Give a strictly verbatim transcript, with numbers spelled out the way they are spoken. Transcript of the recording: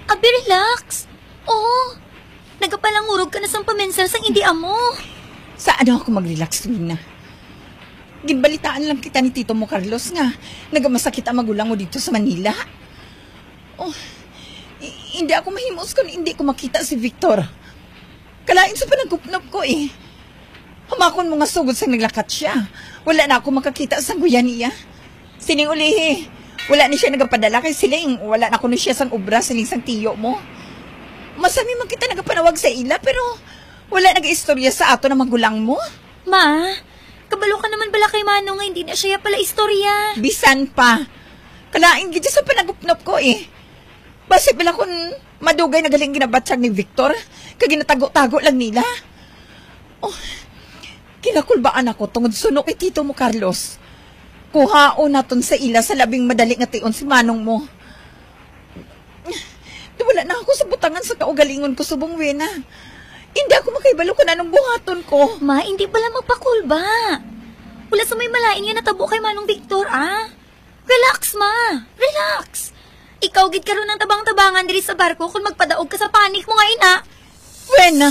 Abi, relax. Oo. Nagapalangurog ka na sang pamensar sang hindi amo. Sa ano ako mag-relax, Wena? Ginbalitaan lang kita ni Tito mo, Carlos, nga nagamasakit ang magulang mo dito sa Manila. Oh, i- hindi ako mahimos kung hindi ko makita si Victor. Kalain sa panagupnop ko eh. Hamakon mo nga sugod sang naglakat siya, wala na ako makakita sang guya niya. Sining ulihi, wala ni siya nagapadala kay siling wala na kuno siya sang obra siling sang tiyo mo. Masami man kita nagapanawag sa ila pero wala nagaistorya sa ato na magulang mo. Ma, kabalo ka naman bala kay Manong nga hindi na siya pala istorya. Bisan pa. Kalain gid sa panagupnop ko eh. Basi bala kun madugay na galing ginabatyag ni Victor, kag ginatago-tago lang nila. Oh, kinakulbaan ako tungod suno kay Tito mo, Carlos. Kuhaon naton sa ila sa labing madali nga tion si Manong mo. Wala na ako sa butangan sa kaugalingon ko subong, Wena. Hindi ako makahibalo kung anong buhaton ko. Ma, hindi pala magpakulba. Wala sa may malain nga natabo kay Manong Victor, ah. Relax, ma. Relax. Ikaw gid karon ang tabang-tabangan diri sa barko kung magpadaog ka sa panic mo nga ina. Wena.